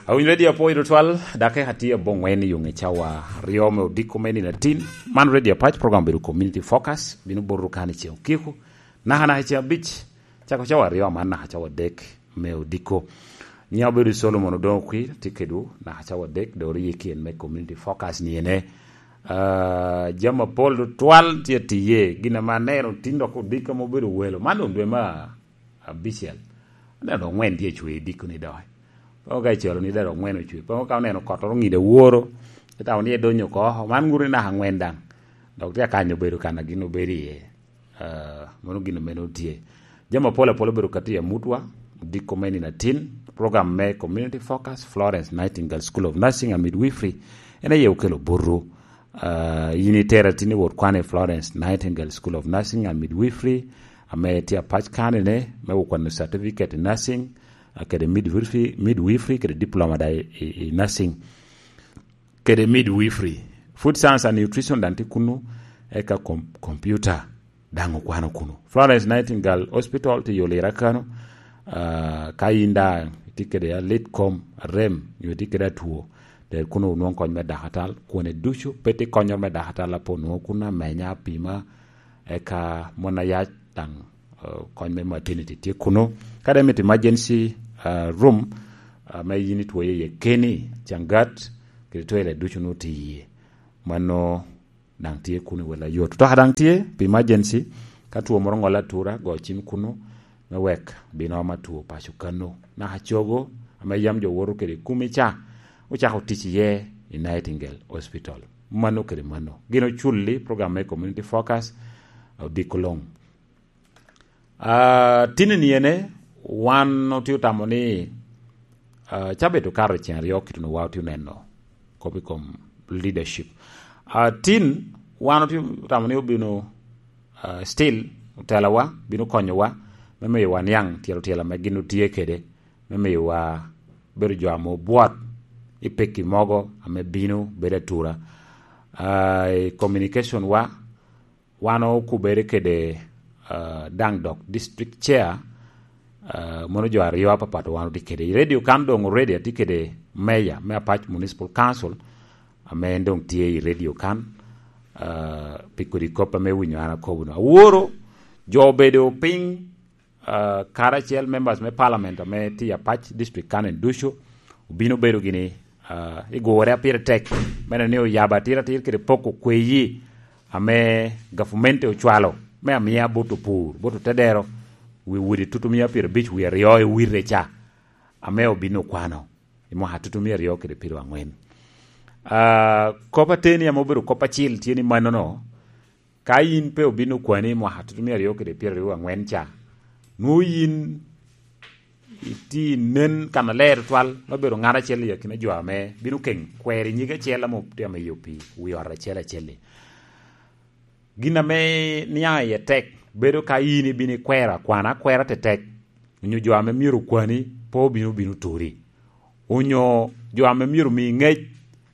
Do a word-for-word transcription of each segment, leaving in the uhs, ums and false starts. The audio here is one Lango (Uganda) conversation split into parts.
Awinyo redio apwoyo tutwal, dake atye aboŋwen i yoŋe cawa aryo me odiko me nino atin. Man redio apac, program bedo Community Focus, bino botwu kan i ceŋ okiko. Naka naka i ceŋ abic, cako cawa aryo, man naka cawa adek me odiko. Nyiŋa obedo Solomon Odoŋo Kwir, tye kedwu naka cawa adek, dok rik en me Community Focus ni ene. Ah, jami apol tutwal tye atiye, gin ame aneno tin dok odiko ame obedo welo. Man doŋ dwe ma abicel. Aneno doŋ ŋwen tye ecwe i dikko ni doki. Pe ka icalo ni dero ŋwen ocwe. Pe ka oneno kottoro ŋide woro, itamo ni edonyo oko. Man ŋuto ni naka ŋwen daŋ. Dok tye akanyo obedo kan a gin obedo iye. Ah, mano gin mene otye. Jami apol apol obedo kati i amutwa, dikko me nino atin, program me Community Focus, Florence Nightingale School of Nursing and Midwifery, en aye okelo botwu. Ah, yin itera tin i wot kwan i Florence Nightingale School of Nursing and Midwifery, ame tye apac kanene, me okwano certificate in nursing, ah, kede midwifery, midwifery kede diploma da i, i, i nursing, kede midwifery. Food science and nutrition daŋ tye kunu, eka kom-, computer daŋ okwano kunu. Florence Nightingale Hospital tye i Olira kano, ah, ka yin daŋ itye kede alit kom, arem, nyo itye kede atwo, ter kunu onwoŋ kony me dakatal, kwone ducu, pe tye konyoro me dakatal, apo onwoŋo kunu amenya, apima, eka mon ayac daŋ, eh, kony me maternity tye kunu. Ka daŋ imito emergency, ah, room, ah, ame yin itwoyo iye keni, cangat, kede toilet ducu nwoŋo tye iye. Mano daŋ tye kunu i wel ayot. Otoka daŋ tye pi emergency, ka two moro oŋolle atura, go cim kunu, me wek bin om atwo paco kano. Naka cogo, ame yam jo woto kede i kumi ca, ocako tic iye i Nightingale Hospital. Mano kede mano. Gin oculli program me Community Focus, odiko loŋ. Ah, tinni ene, wan otye otamo ni, ah, cabit okato i ceŋ aryo kit onwoŋo wa otye oneno kop i kom leadership. Ah, tin, wan otye otamo ni obino, ah, still otelawa, bino konyowa, me miyo waniaŋ tyelo tyel ame gin otye kede, me miyowa bedo jo ame obwot i pekki mogo ame bino bedo atura. Ah, i communication wa, wan okubere kede, ah, daŋ dok district chair, ah, mono jo aryo apapat wan otye kede. I radio kan doŋ already atye kede mayor me Apac Municipal Council, ame en doŋ tye i radio kan, ah, pi kodi kop ame winyo an akobo no. Aworo jo obedo piny, ah, karacel members me parliament ame tye i Apac district kan en ducu, obino bedo gini, ah, i gure a pire tek, me neno ni oyabo atiratir kede poko kweyi ame gavumenti ocwalo, me amiya bot opur, bot otedero, wi udi tutumia pyerabic wie aryo i wite ca, ame obino kwano i mwaka tutumia aryo kede pyeraŋwen. Ah, kop ateni ame obedo kop acil tye ni mannono, ka yin pe obino kwani i mwaka tutumia aryo kede pyeraaryo aŋwen ca, nwoŋo yin itye nen kannaler tutwal, me bedo ŋat acel i akina jo ame bino keŋ kwero i nyig acel ame otye ame iyo pi wi ot acel acel-li. Gin ame niaŋ iye tek bedo ka yin ibino ikwero akwana akwera tetek, onyo jo ame myero okwani pe obino bino turi, onyo jo ame myero omi ŋec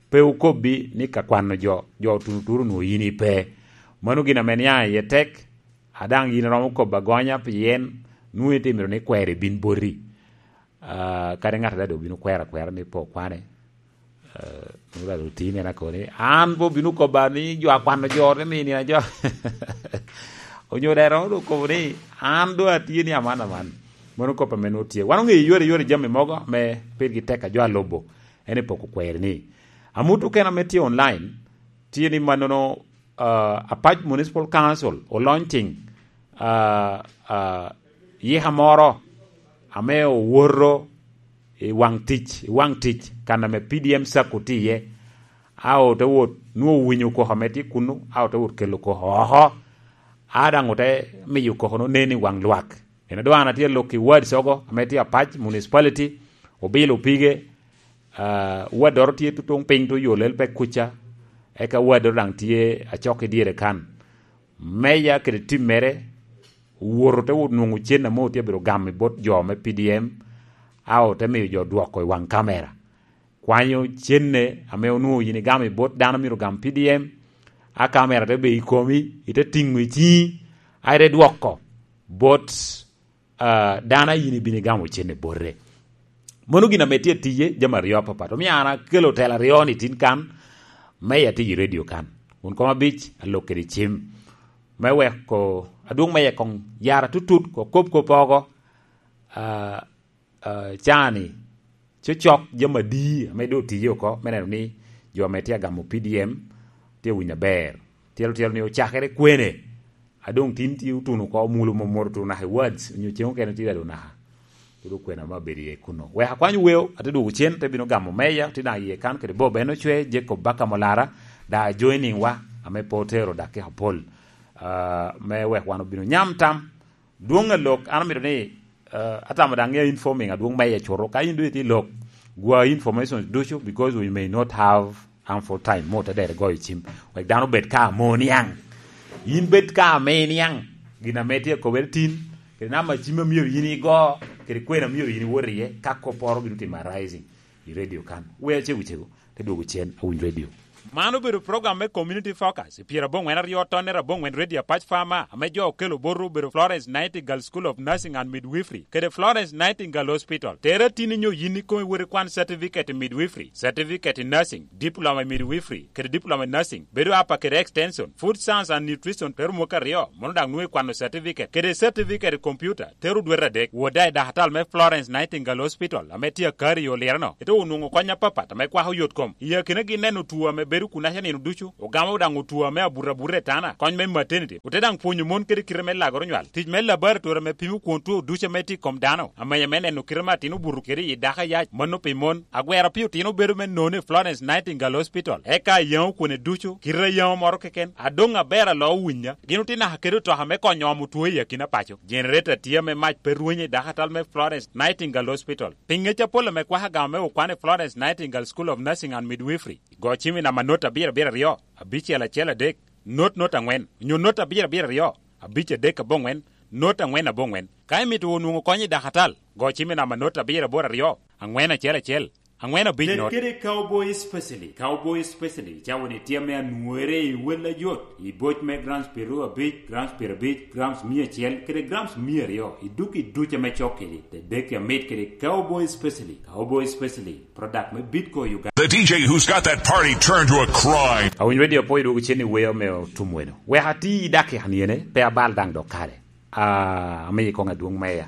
pe okobbi ni ka kwano jo, jo otuno turo onwoŋo yin ipe. Mano gin ame niaŋ iye tek, a daŋ yin iromo kobo agonya pien nwoŋo itye myero ni kwero ibin boti. Ah, kadi ŋat adada obino kwero akwera ni pe okwane. Ah, nwoŋo dada oti nena koni, an pe obino kobba ni jo akwano jo te mi nina jo. Onyo dero doŋ okobo ni, an doŋ atye ni aman aman. Mano kop ame nwoŋo tye. Wan oŋeyo yore, yore jami mogo ame pirgi tek a jo a lobo, en epoko kweri ni. Amut okene ame tye online, tye ni mannono, ah, Apac Municipal Council o launching, ah, ah, yika moro ame owoto i waŋ tic, i waŋ tic, kan ame P D M sacco tye iye. A ote wot, nwoŋo owinyo koko ame tye kunu, a ote wot kelo koko oko. A daŋ ote miyo koko-nu nen i waŋ lwak. En adwar na tye lok i wards ogo, ame tye Apac Municipality, obilo pige, ah, waddoro tye tutuŋ piny to yo lel pe kuca, eka waddoro daŋ tye acok i dyere kan. Meya kede tim mere, owoto te wot nwoŋo cen ame otye abiro gamo i bot jo me P D M, a ote miyo jo dwoko i waŋ kamera. Kwanyo cenne ame onwoŋo yin igamo i bot dano myero ogam P D M, a kamera te bedo i komi, ite tiŋo i ciŋi, a ite dwoko bot, ah, dano a yin ibino igamo cenne bote. Mono gin ame tye atiye, jami aryo apapat. Omio an akelo tela aryo ni tin kan, me atiyo i redio kan. Kun kom abic, alok kede cim. Me weko, adwoŋ me yek koŋ yara tutut, ko kop kop oko, ah, ah, cani, cocok jami adi ame doŋ otiye oko, me neno ni jo ame tye agamo P D M tye winyo aber. Tyelo tyelo ni ocakere kwene. A doŋ tin tye otuno oko, omulo momoro otuno naka i wards, onyo cen okene tye daŋ naka. Pud okwena me abedo iye kuno. Wek akwany weo, ate dwogo cen, te bino gamo meya, tye daŋ iye kan kede Bob en ocwe, Jacob Baka Molara, daŋ joining wa, ame pe otero dakika pol, ah, me wek wan obino nyam tam. Dwoŋ a lok, an amito ni, ah, atamo daŋ ŋeo informing adwoŋ meya cuto. Ka in doŋ itye i lok, gwa information ducu, because we may not have ample time, mo te dere goyo cim. Wek dano obed ka amo niaŋ. Yin bed ka ame iniaŋ. Gin ame tye akobere tin, kede namba cim a myero yin igo, kede kwena a myero yin iwot iye, ka kopporo bino timo arising i redio kan. Wea cego cego, te dwogo cen, awiny redio. Man obedo program me Community Focus, i pyeraboŋwen aryo tonnere aboŋwen redio Apac Farmer, ame jo okelo botwu obedo Florence Nightingale School of Nursing and Midwifery, kede Florence Nightingale Hospital. Tere tin inyo yin ikomi wot ikwan certificate i midwifery, certificate in nursing, diploma i midwifery, kede diploma in nursing, bedo apa kede extension, food science and nutrition, tero mwaka aryo, mono daŋ nwoŋo ikwano certificate, kede certificate i computer, tero dwete adek, wot daŋ i dakatal me Florence Nightingale Hospital, ame tye akari i Olireno, ite onwoŋo kony apapat ame kwako yot kom. I akinagi neno two ame bedo kunaca nino ducu, ogamo daŋ two ame abuto abuta i tana, kony me maternity, ote daŋ pwonyo mon kede kite me lagoro nywal, tic me laboratory ame pimo kwon two ducu ame tye i kom dano, amenya me neno kite me atin obuto kede i dako ayac, mano pi mon. Agwero pi otino bedo me nono i Florence Nightingale Hospital, eka ayaŋo kwone ducu, kite ayaŋo moro keken, adoŋ aber alo owinya. Gin otye naka kede otoka me konyo omo two i akina paco. Generator tye ame mac pe rwenyo i dakatal me Florence Nightingale Hospital. Pi ŋec apol ame kwako agama me okwan i Florence Nightingale School of Nursing and Midwifery, go cim i namba not abiro abiro aryo, abicel acel adek, not not angwen, onyo not abiro abiro aryo, abic adek aboŋwen, not angwen aboŋwen. Ka imito onwoŋo kony i dakatal, go cim i namba not abiro aboro aryo, angwen acel acel, angwen abic not. Kede Cowboy Specialty. Cowboy Specialty cawa ni tye ame anwore i wel ajot, i boc me grams pyeraryo abic, grams pyerabic, grams mia acel, kede grams mia aryo, i duk i duc ame cok kedi, te dek amit kede Cowboy Specialty. Cowboy Specialty, product me Bitco Uganda. The D J who's got that party turned to a crime. Awinyo radio po i dwogo cen i weyo me otum weno. Wek ati i dakika ni ene, pe abal daŋ dok kare. Ah, amiyi koŋ adwoŋ meya.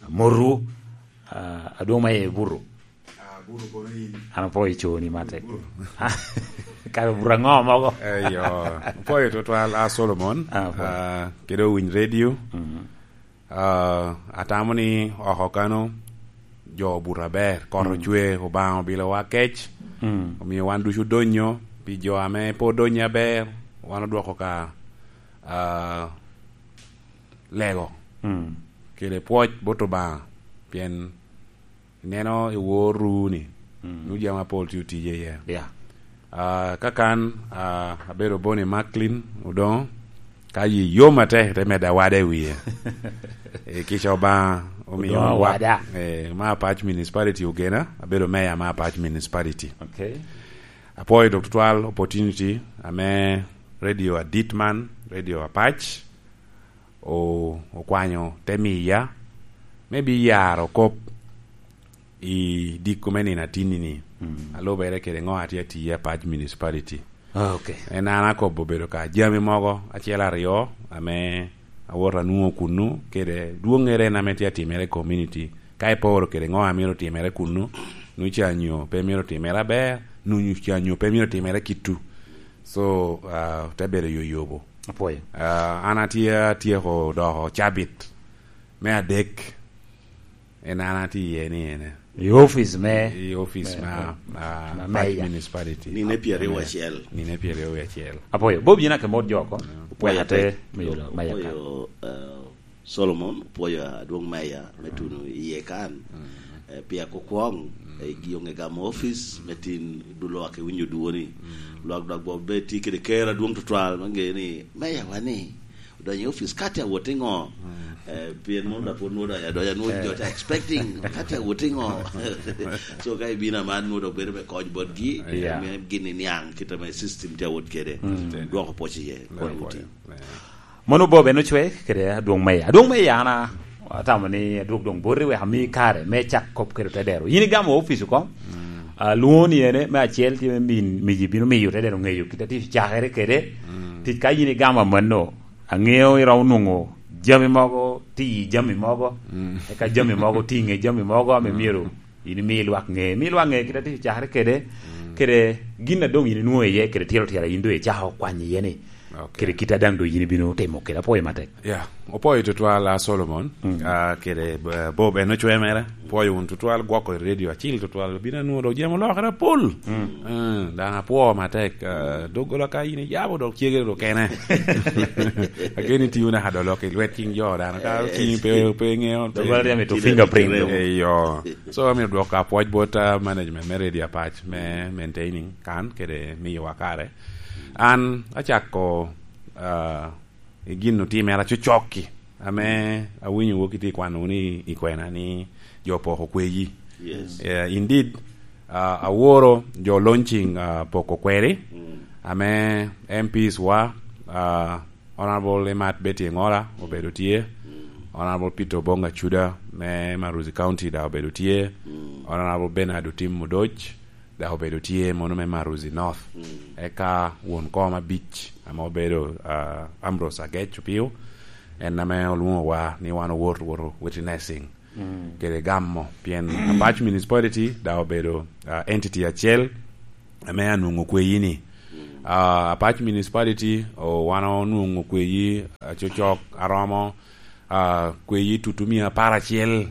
Moru, ah, adwoŋ meya i Buru. Ah, Buru kono in. An apo i coni mate. Buru. Kare Buru aŋo mogo? Eyo, apo i tutwal, a Solomon. Ah, apo. Ah, kede owiny radio. Mhm. Ah, atamo ni oko kano jo obuto aber, kot Mm. ocwe, Obaŋa obilowa kec, Mm. omio wan ducu odonyo, pi jo ame pe odonyo aber, wan odwoko ka, ah, lego Mm. kede pwoc bot Obaŋa, pien ineno i wor ru-ni, Mm. nwoŋo jami apol tye otiye iye. Yeah. Ah, ka kan, ah, abedo Boni Macklin Odoŋo, ka yi yom atek, te medde awada i wie. Eh, kica Obaŋa omio Odoŋo wa-, awada. Eh, ma Apac Municipality ogena, abedo meya ma Apac Municipality. Okay. Apwoyo dok tutwal opportunity ame radio adit man, Radio Apac, o-, okwanyo te miya, me biyaro kop i diko me nino atinni-ni, Mm. alubere kede ŋo atye atiye i Apac Municipality. Ah, okay. En an akobo bedo ka jami mogo acel aryo ame awot anwoŋo kunnu, kede dwoŋŋere en ame tye atimere i community. Ka iporo kede ŋo amito timere kunnu, nwoŋo ca nyo pe mito timere aber, nwoŋo ca nyo pe mito timere kittu. So, ah, te bedo yoyobo. Apwoyo. Ah, an atye atyeko doko cabit me adek. En an atye iye ni ene. I office me I office me, ma, me, ah, me Apac meya. Municipality. Nine pyeraryo acel. Nine pyeraryo acel. Apwoyo. Bob, yin ake mot jo oko. Apwoyo Wek ate te. Me yolo meya ka. Apwoyo, eh, Solomon, apwoyo adwoŋ meya me Tuno iye kan. Mm. Eh, pia kukwong, Mm. eh, gi onge gamo office, Mm. me tin dulo ake winyo dwoni. Mm. Lwak dwak bo be ti kede ker adwoŋ tutwal, mange ni, meya wani, odonyo i office, ka tye awot i ŋo? Mm. Eh, pien mono da pwod nwodo ya, doya nwodo Eh. jo tye expecting, ka tye awot i ŋo? So, ka ibino aman, nwodo bedo me kony botgi, Yeah. me gini niaŋ, kita me system tye awot kede. Mm. Dwoko pwoc iye, Dwoko pwoc. Kony uti. Yeah. Mono Bob en ocwe kede adwoŋ meya. Adwoŋ meya an a-, Atamo ni adwog doŋ boti wek ami kare me cak kop kede otedero. Yin igamo opic oko, mm, ah, lwoŋo ni ene, me acel tye me min, miji bino miyo otedero ŋeyo kit atic cakere kede. Mm. Tic ka yin igamo amanno, aŋeo iromo nwoŋo jami mogo, ti i jami mogo, mm, eka jami mogo ti i ŋe jami mogo ame, mm, myero yin imi lwak ŋe, imi lwak ŋe kit atic cakere kede, mm, kede gin a doŋ yin inwoŋo iye, kede tyelo tyela yin doŋ icako kwany iye ni, ok, kede kit a daŋ doŋ yin ibino timo kede. Apwoyo matek. Ya, opwoyo tutwal, a Solomon, mm, ah, kede, eh, Bob, en ocwe mere. Pwoyo wun tutwal, gwoko i redio acil tutwal, bino anwoŋo dok jami olokere apol. Mm. Eh, daŋ apwo matek, ah, doggola ka yin iyabo dok cegere dok kene. Ageni tio naka dok lok i lwet ciŋ jo dano, ka ciŋi pe, pe ŋeo, pe doggola ryemo i to fingerprint. Eh, yo. So, amito dwoko apwoc bot, ah, management me redio Apac me maintaining kan kede miyowa kare. An acako, ah, i gin otimere acocok-ki, ame awinyo wok itye kwano wunu i, i kwena ni jo poko kweyi. Yes. Eh, indeed, ah, aworo jo launching, ah, poko kweri, mm, ame M Ps wa, ah, Honorable Emat Betty Engola obedo tye, mm, Honorable Peter Obong Acuda me Maruzi County daŋ obedo tye, mm, Honorable Bernard Otim Odoc, dok obedo tye mono me Maruzi North. Mm. Eka won kom abic ame obedo, ah, Ambrose Agec Opio, en ame olwoŋowa ni wan owot, woto witnessing, mm, kede gamo, pien Apac Municipality dok obedo, ah, entity acel ame anwoŋo kweyi-ni. Mm. Ah, Apac Municipality, o, wan onwoŋo kweyi, ah, cocok aromo, ah, kweyi tutu mia apar acel,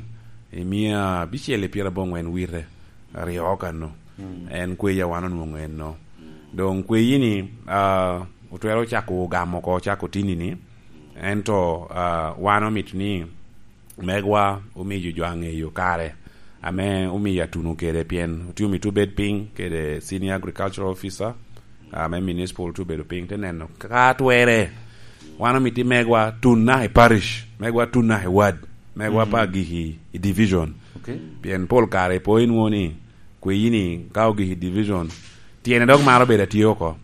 i mia abicel i pyerabongwen wite, aryo kano. Mm. En kweyi a wan onwoŋo enno. Mm. Doŋ kweyi-ni, ah, otwero cako gamo oko, cako tini-ni. Ento, ah, wan omito ni megwa omiyo jo aŋeyo kare, ame omiyo atuno kede, pien otye omito obed piny kede Senior Agricultural Officer, ame municipal tye obedo piny, te neno ka twere. Wan omito i megwa tun naka i parish, megwa tun naka i ward, megwa, mm, pe agik i, i division. Okay. Pien pol kare ipo inwoŋo ni kweyi-ni ka ogik i division, tyene dok maro bedo atye oko.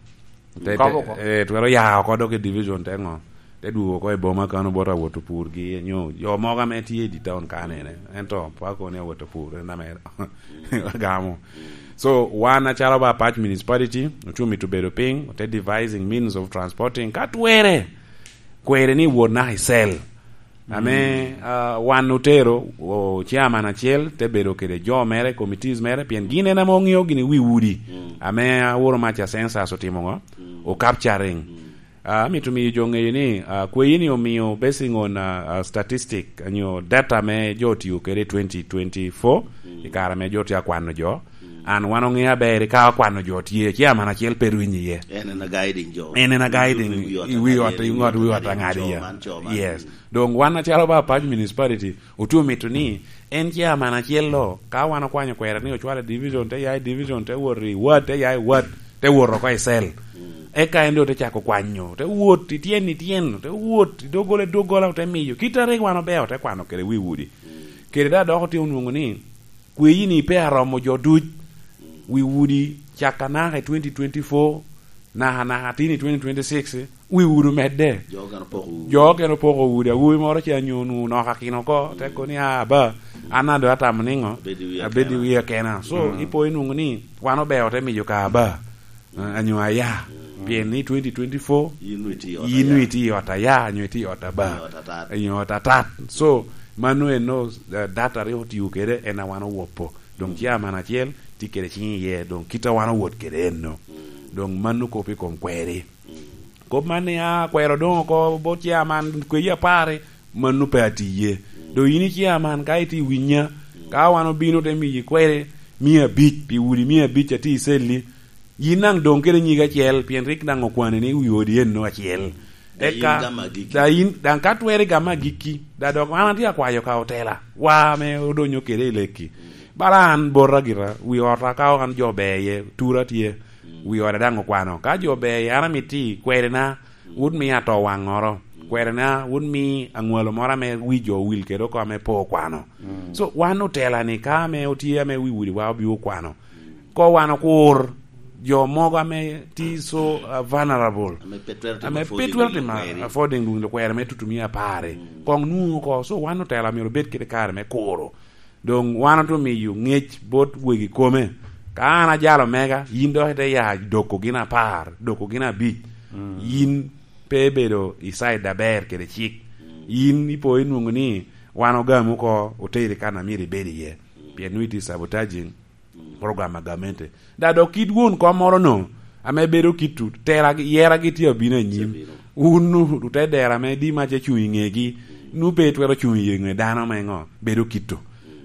Te, kop oko. Te, eh, twero ya oko dok i division te ŋo? Te dwogo oko i boma kano bot awot opurgi, nyo jo mogo ame tye i di town kanene. Ento pe akoni awot opur, en ame agamo. So, wan acalo ba Apac Municipality, ocuŋ mito bedo piny, ote devising means of transporting. Ka twere, kwere ni wot naka i cell. Ame, mm, ah, wan otero, o, chairman acel te bedo kede jo mere, committees mere, pien gin en ame oŋeo gini wi udi. Mm. Ame aworo maca census otimo ŋo? Mm. O capturing. Mm. Ah, amito miyo jo ŋeyo ni, ah, kweyi-ni omio basing on, ah, ah, statistic, nyo data me jo otio kede i twenty twenty-four, mm, i kare ame jo tye akwano jo. Mm. An wan oŋeo aber ka okwano jo tye, chairman acel pe rwinyo iye. En en a guiding jo. En en a guiding i wi ot, i ŋot wi ot aŋadi ya. Yes. Mm. Doŋ wan acalo ba Apac Municipality, otye omito ni en chairman acel-lo, ka wan okwanyo kwere ni ocwalo i division, te ya i division, te wot i ward, te ya i ward, te wot oko i cell. Mm. Eka en doŋ te cako kwanyo, te wot i tyen i tyen, te wot i doggola i doggola, ote miyo. Kit a rik wan obeo, ote kwano kede wi udi. Mm. Kede daŋ dok otye onwoŋo ni, kweyi-ni pe aromo jo duc. Wi udi caka naka i twenty twenty-four, naka, naka tin i twenty twenty-six, wi udi omedde. Jo okene opoko udi. Jo okene opoko udi. Awobi moro ce anyo onwoŋo onoko akina oko, te kono ni, "Ah, ba, an a doŋ atamo niŋo? Abedo i wi akena." Abedo i wi akena. So, mm, ipo inwoŋo ni wan obeo te miyo ka aba, eh, anyo aya. Mm. Pien ni twenty twenty-four, yin nwoŋo itye i ot aya. Yin nwoŋo itye i ot aya, anyo itye i ot aba. Nyo ot atat. Nyo ot atat. So, mano eno, eh, data rik otio kede, en a wan owopo. Doŋ, mm, chairman acel tye kede ciŋ iye, doŋ kit a wan owot kede enno. Mm. Doŋ mano kop i kom kweri. Mm. Kop man ni, "Ah, kwero doŋ oko bot chairman kweyi apar," mano pe atiye. Mm. Doŋ yin i chairman ka itye i winya, mm, ka wan obino te miyi kwere mia abic pi udi mia abic a tye i celli, yin daŋ doŋ kede nyig acel, pien rik daŋ okwani ni wi odi enno acel. Daŋ yin gam agikki. Daŋ yin, daŋ ka twere gam agikki, daŋ dok an atye akwayo ka otela, wa ame odonyo kede i lekki. Bala an bota gira, wi ota ka an jo ber iye, tura tye, wi oda daŋ okwano. Ka jo ber iye, an amito i kwerena, wun mi ato waŋoro. Kwerena, wun mi aŋwalo moro ame wi jo owil kede oko ame pe okwano. Mm. So, wan otela-ni, ka ame otye ame wi udi wa obio okwano, ko wan okur, jo mogo ame tye so, uh, vulnerable, ame pe twero timo affording luŋ lukwero me tutumia apar-ri. Mm. Koŋ nwoŋo oko, so wan otela myero obed kede kare me kuro. Doŋ wan ote miyo ŋec bot wegi kome. Ka an ajalo mega, yin dok ite ya doko gin apar, doko gin abic. Mm. Yin pe ibedo i side aber kede cik. Mm. Yin ipo inwoŋo ni wan ogami oko, oteri kan a myero ibed iye. Mm. Pien nwoŋo itye sabotaging program a gamente. Da dok kit won kom moro no, ame bedo kit-tu, tera gi, yera gi tye abino anyim. Tye abino. Wun nu-, ote dero ame di mac ecuŋ i ŋegi, nu pe itwero cuŋ i ŋe dano me ŋo, bedo kit-tu.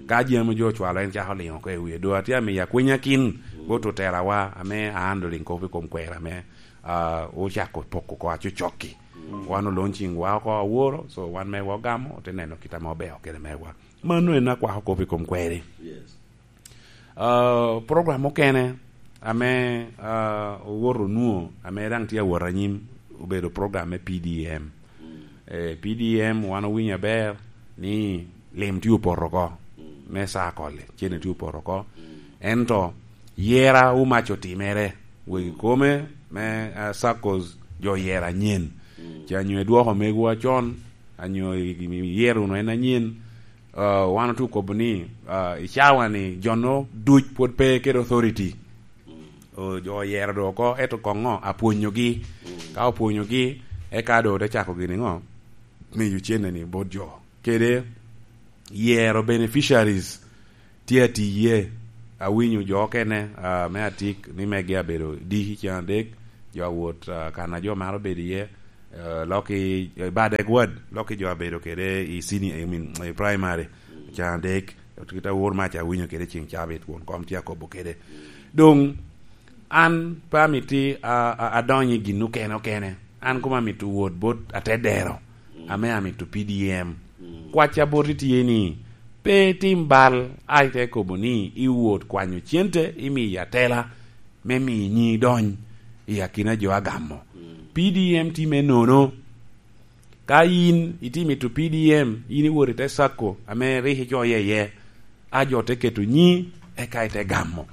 Ka jami jo ocwalo en cako liŋo oko i wie, do atye amiyo akwenyakin bot otelawa ame a handling kop i kom kwero ame, ah, ocako poko oko acocokki. Mm. Wan oloŋ ciŋwa oko aworo, so wan mewa ogamo, ote neno kit ame obeyo kede mewa. Mano en akwako kop i kom kweri. Yes. Ah, program mukene ame, ah, owoto onwoŋo, ame daŋ tye awot anyim, obedo program me P D M. Mm. Eh, P D M wan owinyo aber ni lim tye opoto oko me circle, cene tye opoto oko. Mm. Ento yera omac otimere, wegi kome me, ah, circles jo yera anyen. Mm. Ca nyo idwoko megowa con, anyo i-, i-, iyero wunu en anyen, ah, wan otye okobo ni, ah, i cawa-ni jo-nu duc pwod pe kede authority. O, jo oyero do oko, ento koŋ ŋo? Apwonyogi. Mm. Ka opwonyogi, eka do te cako gini ŋo? Miyo cene-ni bot jo. Kede yero beneficiaries tye atiye. Awinyo jo okene, ah, me Atik ni megi abedo D C ceŋ adek, jo awot, ah, kan a jo maro bedo iye, eh, lok i, i Badek Ward, lok i jo abedo kede i senior, I mean, i primary, ceŋ adek, kit awor mac awinyo kede ceŋ cabit, won kom tye akobo kede. Doŋ, an pe amito a, a, adony i gin okene okene. An koma amito wot bot atedero, ame amito P D M. Kwacca boti tye ni, pe itim bal, a ite kobo ni iwot kwanyo cente, imiyo atela, me miyo nyi dony i akina jo a gamo. Mm. P D M tye me nono. Ka yin itye mito P D M, yin iwot i te sacco ame rik icoye iye, a jo te keto nyi, eka ite gamo.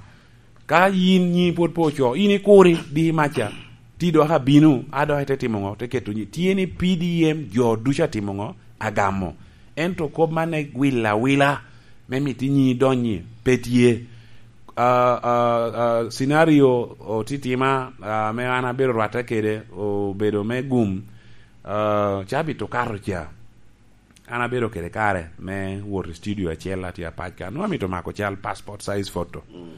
Ka yin nyi pwod pe ocoo, yin ikuri, di maca, ti dok abino, a dok ite timo ŋo? Te keto nyi. Tye ni P D M jo ducu atimo ŋo? Agamo. Ento kop man ne wilo awila, me mito nyi donyi, pe tye. Ah, ah, ah, scenario otitima, ah, me an abedo rwatte kede, obedo me gum, ah, cabit okato ca. An abedo kede kare me wot i studio acel, atye apac ka. Nwoŋo amito mako cal, passport size photo. Mm.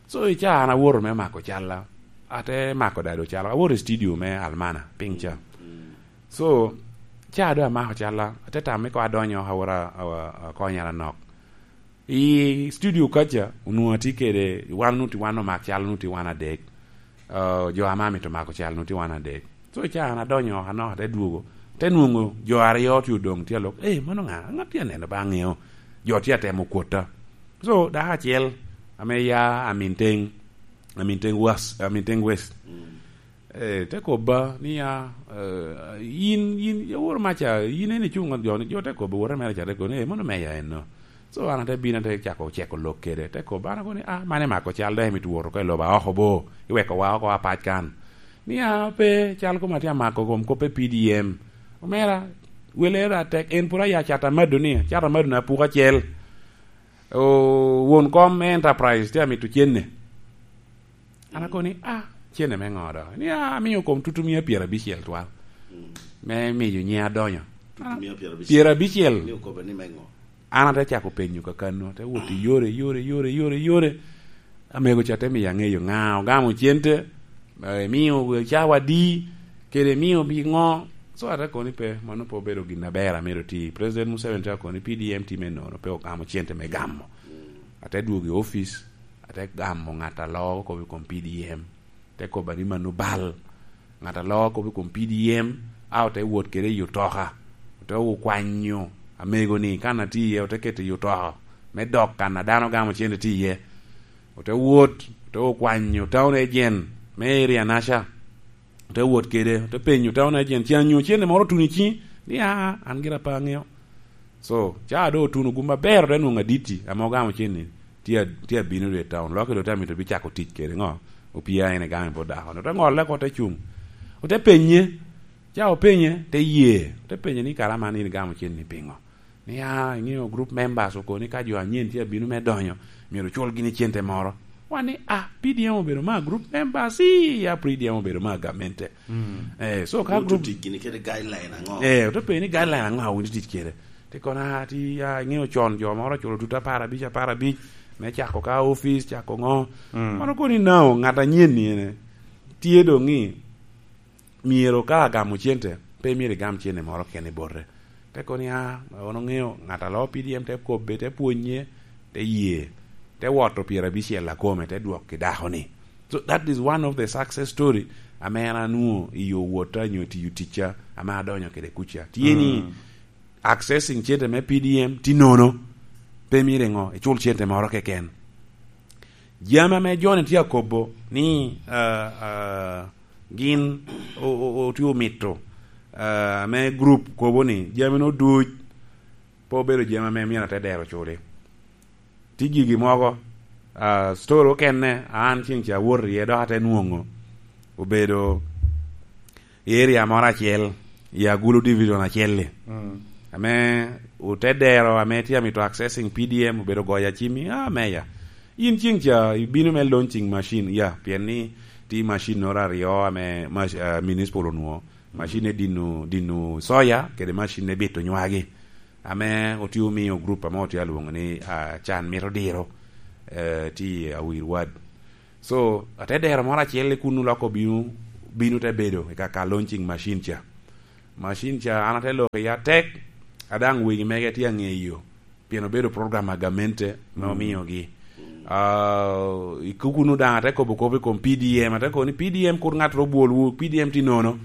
So, i ca an awoto me mako calla, ate mako dado calla. Awoto i studio me Almana, piny ca. Mm. So, ca doŋ amako calla, ate tamo ni koŋ adonyo, awot a, a, akonya anok. I studio kaca, onwoŋo atye kede, wan onwoŋo tye wan omak cal, onwoŋo tye wan adek. Ah, jo ame amito mako cal, onwoŋo tye wan adek. So, ca an adonyo oko anok, ate dwogo, te nwoŋo jo aryo tye odoŋ, tye alok, "Eh, mano ŋa? Ŋat tye aneno ba aŋeo." Jo tye atemo kwota. So, dako acel ame ya Aminteng, Aminteng West, Aminteng West. Mm. Eh, te kobba ni, "Ah, eh, yin, yin, yawor maca, yin en icuŋ ŋot jo ni?" Jo te kobba, wote mere ca te kobo ni, "Eh, mano meya enno." So, an ate bino, ate cako ceko lok kede. Te kobba, an akobo ni, "Ah, man imako cal, dok imito wot oko i lobo aoko bo, iweko wa oko apac kan." Ni, "Ah, pe, cal koma tye amako kom kop pe P D M." Omera, wele ra tek, en pwod aya cat amado ni, cat amado na puko acel. O, won kom me Enterprise tye amito cenne. An akobo ni, "Ah, cene me ŋo do?" Ni, "Ah, amio kom tutumia pyerabicel twal." Mm. Me miyo nyiŋ adonyo. Tutumia pyerabicel. Pyerabicel. Ni okobo ni me ŋo? An ate cako penyo kakano, ate wot i yore, yore, yore, yore, yore. Amego ca te miyo aŋeyo ŋa ogamo cente, eh, emio cawa adi, kede emio pi ŋo. So, ate kobo ni pe, mano pe obedo gin aber amito ti. President Museveni te kobo ni P D M tye me nono, pe ogamo cente me gamo. Mm. Ate dwogo i opic, ate gamo ŋat a loo kop i kom P D M, te kobba ni mano bal. Ŋat a loo kop i kom P D M, a ote wot kede i otoka, ote okwanyo amego-ni kan atye iye, ote keto i otoka, me dok kan a dano gamo cente tye iye. Ote wot, ote okwanyo town agent me area naca, ote wot kede, ote penyo town agent, "Can nyo cente moro otuno i ciŋi?" Ni, "Aa, an gira pe aŋeo." So, ca doŋ otuno gum aber, ote nwoŋo aditi ame ogamo cen-ni tye a-, tye abino dwe i taun. Loki doŋ te amito bicako tic kede ŋo? Opia en igamo i bot dako-ni. Ote ŋolle oko, te cuŋ. Ote penye. Ca openye, te ye. Ote penye ni, "Kara man in igamo cen ni piŋo?" Ni, "Ah, iŋeo group members okoni ka jo anyen tye abino me donyo, myero ocul gini cente moro." Wan ni, "Ah, P D M obedo ma group members, ii, ya P D M obedo ma gamente." Eh, so ka Group group tic gini kede guideline aŋo? Eh, ote penye ni guideline aŋo a wun itic kede? Te kono, "Ah, ti, ah, iŋeo con jo moro oculo tutu apar abic, apar abic, me cako ka office, cako ŋo." Mano kono inao, ŋat anyen ni ene, tye doŋ i myero ka agamo cente, pe myero igam cente moro kene i bote. Te kono ni, "Ah, wan oŋeo ŋat a loo P D M te kobbe, te pwonye, te ye, te woto pyerabicel akome, te dwok i dako-ni." So that is one of the success story ame an anwoŋo i yo wotta nyo tiyo ticca ame adonyo kede kuca. Tye ni accessing cente me P D M tye nono, pe myero iŋo, icul cente moro keken. Jami ame John tye akobo ni, ah, ah, gin o-, o-, o-, otye omito, ah, ame group kobo ni jami no duc pe obedo jami ame myero ate dero culi. Tye gigi mogo, ah, story okene, an ceng ca awot iye, dok ate nwoŋo obedo i area moro acel i Agulu Division acel-li. Ame ote dero ame tye amito accessing P D M obedo goyo acimmi, "Ah, meya, in ceng ca ibino me launching machine, ya, pien ni tye machine noro aryo ame mac-, ah, municipal onwoŋo, machine dino, dino soya kede machine bito nywagi." Ame otye omiyo group ame otye alwoŋo ni, ah, Can Mito Diro, eh, tye i Awir Ward. So, ate dero moro acel i kunnu loko bino, bino te bedo i kaka launching machine ca. Machine ca, an ate loko iye atek, a daŋ wegi mege tye aŋeyo, pien obedo program a gamente me omiogi. Ah, i kunnu daŋ ate kobo kop i kom P D M, ate kobo ni, "P D M kur ŋat ro bwolwu, P D M tye nono."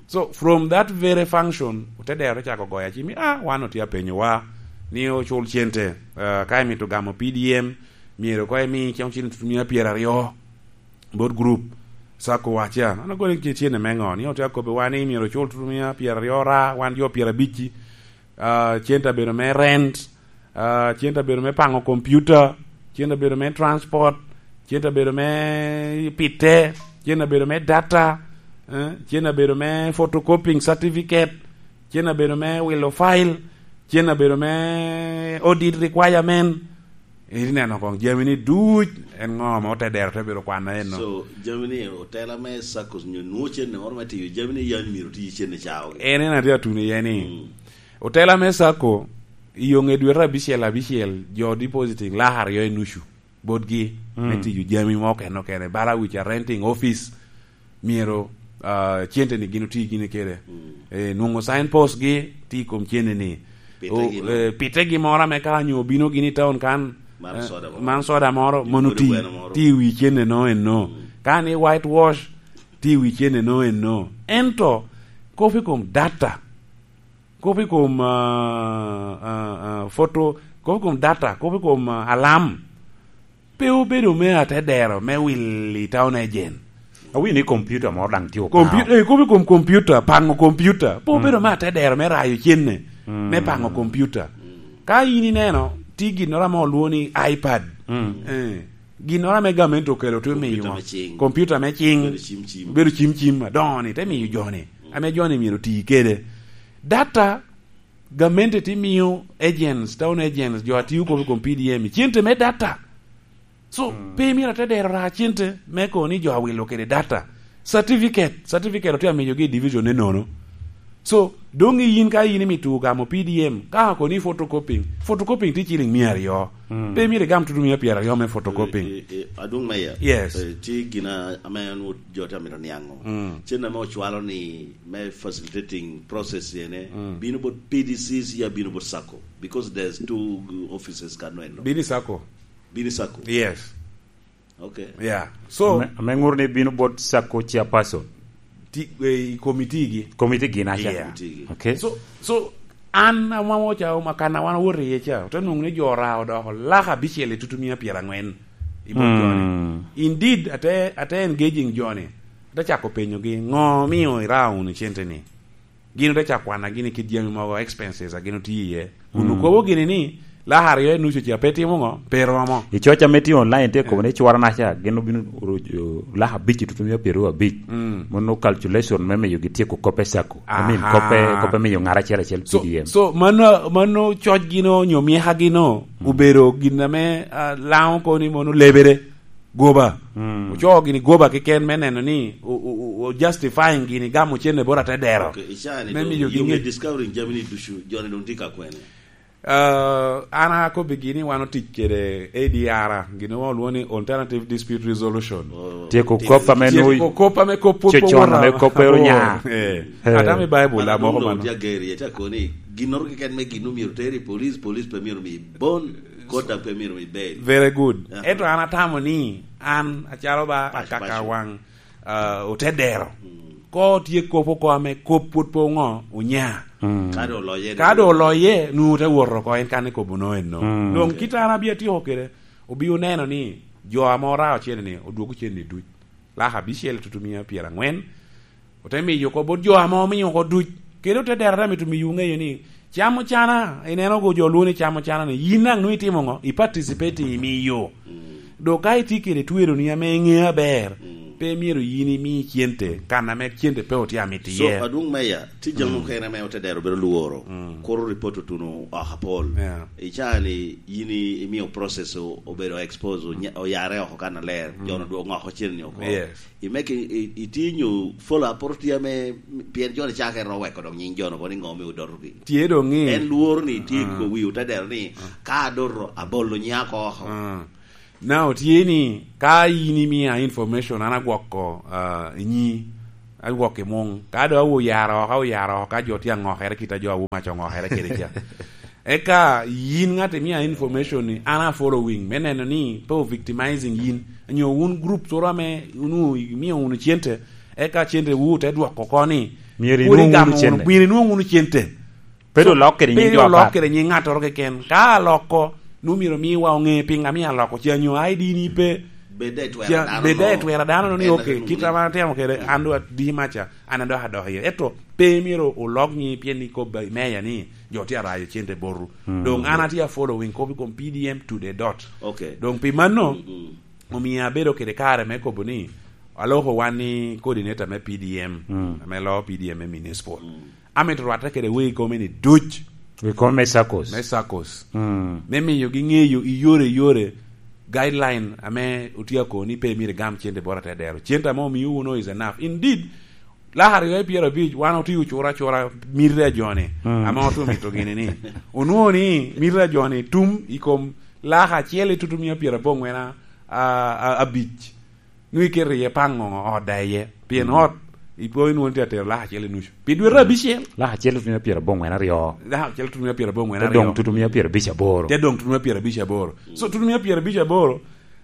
So, from that very function, ote dero te cako goyo acimmi, "Ah, wan otye apenyowa ni ocul cente, ah, ka imito gamo P D M, myero koŋ imi cen-, cen-, tutumia pyeraryo bot group, sacco wa ca." An agoni ki cene me ŋo, ni otye akobbiwa ni myero ocul tutumia pyeraryo ra, wan jo pyerabicci. Ah, cente abedo me rent, ah, cente abedo me paŋo computer, cente abedo me transport, cente abedo me pite, cente abedo me data, eh, cente abedo me photocopying certificate, cente abedo me wilo file, cente abedo me audit requirement. Iri neno koŋ jami ni duc, en ŋo ame ote dero te bedo kwana eno? So, jami ni otela me saccos nyo nwo cene moro me tiyo jami ni yan myero ti cene caogi. En, en atye atuno iye ni, mm, otela me sacco, i yo ŋe dwete abicel abicel, jo depositing lak aryo i nucu botgi, mm, me tiyo jami mo okene okene, bala wic a renting office, myero, ah, cente ni gin oti gini kede. Mm. Eh, nwoŋo signpost gi ti i kom cene ni. Pitegi O, no. Eh, pitegi moro ame ka onyo obino gini i town kan, man, eh, soda moro, man soda moro, mono ti, gweno moro, ti i wi cene no eno. Mm. Ka ni whitewash, ti i wi cene no eno. Ento, kop i kom data, kop i kom, ah, ah, ah, photo, kop i kom data, kop i kom, ah, alam, pe obedo me atedero me wil i town agent. Awinyo ni computer moro daŋ tye opao. Computer, eh, kop i kom computer, paŋo computer. Pe obedo, mm, me atedero me rayo cene, mm, me paŋo computer. Ka in ineno, tye ginnoro ame olwongo ni iPad. Mm. Eh, ginnoro ame gamente okelo, te miyo computer me cing. Computer me cing. Bedo cim cim. Bedo cim cim, adoŋo-ni, te miyo jo-ni, ame jo-ni myero oti kede. Data, gamente te miyo agents, town agents, jo a tiyo kop i kom P D M, cente me data. So, mm, pe myero atedero ra cente me kono ni jo awilo kede data. Certificate, certificate otye amiyogi i division enono. So, doŋ i yin ka in imito gamo P D M, ka kono ni photocopying, photocopying tye ciling mia aryo. Mm. Pe myero igam tutu mia pyeraryo me photocopying. Eh, eh, eh, adwoŋ meya. Yes. Eh, tye gina ame an wot jo te amito niaŋo. Mm. Cen ame ocwalo ni me facilitating process ene, mm, bino bot P D Cs ya bino bot sacco? Because there's two offices kano eno. Bini sacco. Bini sacco? Yes. Okay. Yeah. So, ame, ame ŋur ni bino bot sacco chairperson. Ti, eh, i committee gi. Committee gi na cha. Yeah. Committee gi. Okay. So, so, an amamo cha, ma kan wan awoto iye cha, ote nwoŋo ni jo ora odoko lak abicel i tutumia pyeraŋwen i bot, mm, joni. Indeed, ate, ate engaging joni. Ate cako penyogi, "Ŋo omio ira wunu cente ni?" Gin ote cako kwana gini kit jami mogo, expenses a gin otye iye. Kun, mm, okobo gini ni, Laka aryo i nucu ca pe timo ŋo? Pe romo. I coc ame tye online tye kobo ni cwara naca gin obino ru-, laka abic i tutumia pyeraryo abic. Mm. Mono calculation me miyo gityeko koppe sacco. I mean, aha, koppe, koppe miyo ŋat acel acel. So, P D M. So, mano, mano cocgi no, nyo myekagi no, mm, obedo gin ame, ah, Laŋo kono ni mono lebere, goba. Mm. Ocoo gini goba keken me neno ni o, o, o, o justifying gini gamo cene bot atedero. Okay, i caa ni me dong miyo in gini discovering jami ni ducu, joni dong tye ka kwene? Ah, an akobbi gini wan otic kede A D R, gin wan olwongo ni Alternative Dispute Resolution. Oh, tyeko kop ame nwoyo, tyeko kop ame kop pwod cocon ame kop pe onya. Eh. Eh. Ata me Bible, an amoko mano. Tye ageri, ete akoni, ginnoro keken me gin omyero ter i police, police pe myero mi bon, court daŋ pe myero mi bail. Very good. Aha. Ento an atamo ni, an acalo ba akaka waŋ, ah, otedero. Mm. Ko tye kop oko ame kop pwod pe oŋo onya. Mm. Ka do oloye, ka do oloye, nu te wot oko, en kan ikobo no eno. Mm. Doŋ kit an abia tyeko kede, obi oneno ni jo ame orao cene ni, odwogo cene ni duc. Laka abicel tutumia pyerangwen, ote miyo oko bot jo ame omiyo oko duc. Kede otedero te mito miyo ŋeyo ni, camo cana, ineno go jo lwongo ni camo cana ni, yin daŋ nwoŋo itimo ŋo? I participate i miyo. Mm. Dok ka itye kede tweroni ame iŋeo aber, mm, pe myero yin imi cente, kan ame cente pe otye amito iye. So, adwoŋ meya, tye jami, mm, okene ame otedero bedo lworo, mm, kuro report otuno oko apol. Yeah. I caa ni yin i-, imio process o-, obedo expose, onya-, oyare oko kan aler, mm, jo-nu dwogo oko cene ni oko. Yes. I make i, i, itye nyo follow up poro tye ame, pien jo-ni cakere oweko dok nying jo-nu kono i ŋo me odotogi. Tye doŋ i. En lworo ni tye, ah, ko wi otedero ni, ah, ka adoto, abolo nyiŋa oko oko. Ah. Now, tye ni, ka in imia information, an agwoko, ah, nyi, agwoko i muŋ. Ka do awo yaro oko, awo yaro oko, ka jo tye aŋokere, kit a jo awo mac oŋokere kede ca. Eka yin ŋat imia information ni, an a following, me neno ni pe o victimizing yin. Nyo wun group toro ame wun imio wunu cente, eka cente wu te dwoko oko ni, myero inwoŋ wunu cente. Myero inwoŋ wunu cente. Pe do lok kede nying jo apat. Pe do lok kede nying ŋattoro keken. Ka aloko, nu myero miwa oŋe piŋ amio aloko. Ca nyo I D ni pe. Bed daŋ itwero dano, bed daŋ itwero dano ni, okay, kit ame atemo kede, an do adi maca, an adok adok iye. Eto pe myero olok nying pien ni kobba i meya ni, jo tye arayo cente botu. Mm. Doŋ an atye a following kop i kom P D M to the dot. Okay. Doŋ pi mano, mm, mm, omio abedo kede kare me kobo ni, aloko wan ni coordinator me P D M, mm, ame loo P D M me municipal. Mm. Amito rwatte kede wegi kome ni duc. Wegi kome me saccos. Me saccos. Mm. Me miyogi ŋeyo i yore i yore, guideline ame otye akoni pe myero igam cente bot atedero. Cente ame omio wunu is enough. Indeed, laka aryo i pyerabic, wan otye ocura acura miti a jo-ni, mm, ame otye omito gini ni. Onwoŋo ni miti a jo-ni tum i kom laka acel i tutumia pyeraboŋwen a, a, a, abic. Nwoŋo iketo iye paŋ ŋo ot da iye. Pien, mm, ot, ipo inwoŋo tye atero laka acel i nucu. Pi dwete abicel. Laka acel tutumia pyeraboŋwen aryo. Laka acel tutumia pyeraboŋwen aryo. Te doŋ tutumia pyerabic aboro. Te doŋ tutumia pyerabic aboro. So, tutumia pyerabic aboro,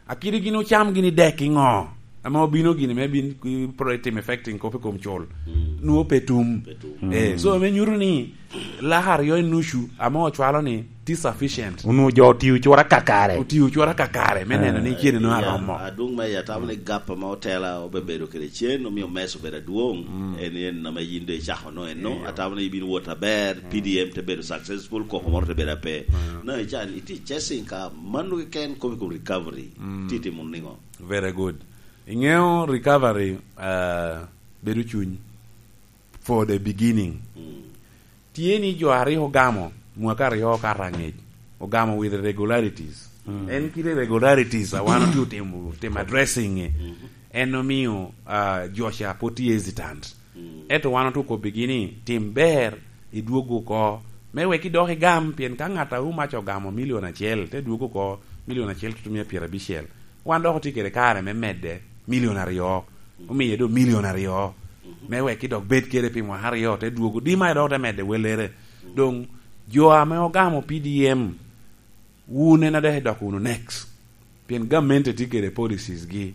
akidi gin ocam gini dek i ŋo? Ame obino gini me bin, i, pro-, timo affecting kop i kom cul. Mm. Nwoŋo pe tum. Pe tum. Eh, mm, so, me nyuto ni, laka aryo i nucu ame ocwalo ni tye sufficient. Onwoŋo jo otio cura kakare. Otio cura kakare me neno ni, eh, cene no, ya, aromo. Adwoŋ me ya tamo ni gap ame otela obebedo kede cen, omio mess obedo adwoŋ. Mm. En, en ame yin do icako no eno. Iyo. Atamo ni ibin wot aber, mm, P D M te bedo successful, koko moro te bedo ape. Mm. Na ican, iti chasing ka mano keken kop i kom recovery. Mm. Ti timo niŋo? Very good. Iŋeo recovery, uh, bedo cuny. For the beginning. Mm. Tye ni jo a rik ogamo mwaka aryo okato aŋec, ogamo with regularities. Mm. En kite regularities a wan otye otimo, timo addressing-e. Mm. En omio, ah, jo ca pwod tye hesitant. Mm. Ento wan otye okobbigi ni, tim ber, idwog oko, me wek idok igam, pien ka ŋat a Umac ogamo milion acel, te dwog oko milion acel tutumia pyerabicel, wan dok otye kede kare me medde milion aryo. Omiye doŋ milion aryo. Mhm. Me wek ki dok bed kede pi mwaka aryo, te dwogo. Di ma dok te medde welere. Mhm. Doŋ jo ame ogamo P D M, wun en adek idoko wunu next. Pien gamente tye kede policies gi.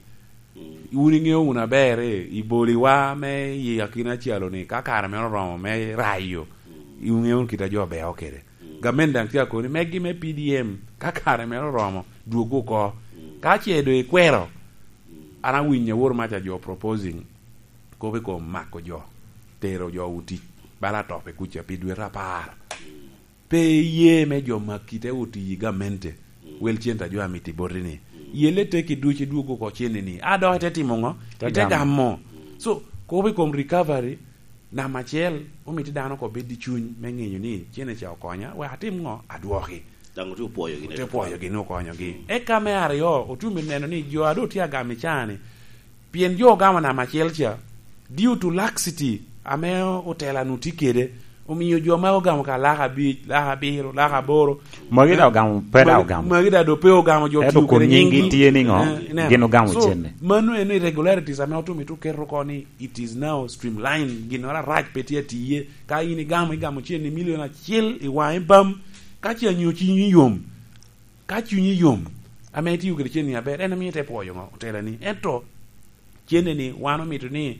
Mhm. Wun iŋeo wunu aber, eh, i boliwa me i akina calo ni, ka kare mere oromo me rayo, mhm, iŋeo wunu kit a jo beo kede. Mm. Gamente daŋ tye akoni, megi me P D M, ka kare mere oromo, dwog oko. Mm. Ka ce doŋ ikwero, mm, an awinyo awor maca jo proposing kop i kom mako jo, tero jo wu tic, bala atope kuca pi dwete apar. Mm. Pe iye me jo makki te oti i gamente, wel cente a jo a mito i boti-ni. Yelle tekki ducu idwog oko cene-ni. A dok ite timo ŋo? Ite gamo. So, kobo i kom recovery, namba acel, omito dano oko bed i cuny me ŋeyo ni cene ca okonya, wek atim ŋo? Adwoki. Daŋ otye opwoyogi. Otye opwoyogi ni okonyogi. Eka me aryo, otye omito neno ni jo a doŋ tye agamo i caa-ni, pien jo ogamo namba acel ca, due to laxity ame otela-nu tye kede, omio jo ma ogamo ka laka abic, laka abiro, laka aboro. Magi daŋ ogamo, pe daŋ ogamo. Magi daŋ doŋ pe ogamo, jo ento tiyo kun kede nyinggi nyinggi. Tye ni ŋo? Eh, ineno. Gin ogamo. So, cene. Mano en irregularities ame otum ito keto oko ni it is now streamlined, ginnoro arac pe tye atiye. Ka in igamo, igamo cen i milion acel i waŋe bam, ka ce anyo cunyi yom, ka cunyi yom, ame itio kede cen-ni aber, en omio ite pwoyo ŋo? Otelani. Ento cene-ni, wan omito ni